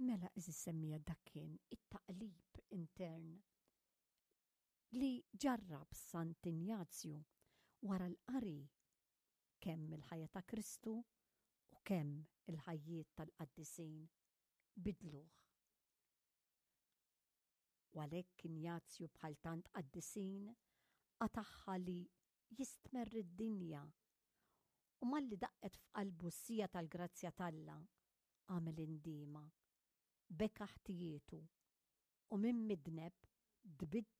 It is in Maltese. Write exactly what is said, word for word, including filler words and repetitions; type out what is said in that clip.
Mela, għeżież semmiegħa, dak kien it-taqlib intern li ġarrab Sant'Injazju wara l-qari kemm il-ħajja ta' Kristu u kemm il-ħajjiet tal-qaddisin bidluh. U għalhekk Injazju, bħal tant qaddisin, qatagħha li jistmerr id-dinja u malli daqqet f'qalbu s-siegħa tal-grazzja t'Alla għamel indiema, beka ħtijietu u minn midneb tbiddel.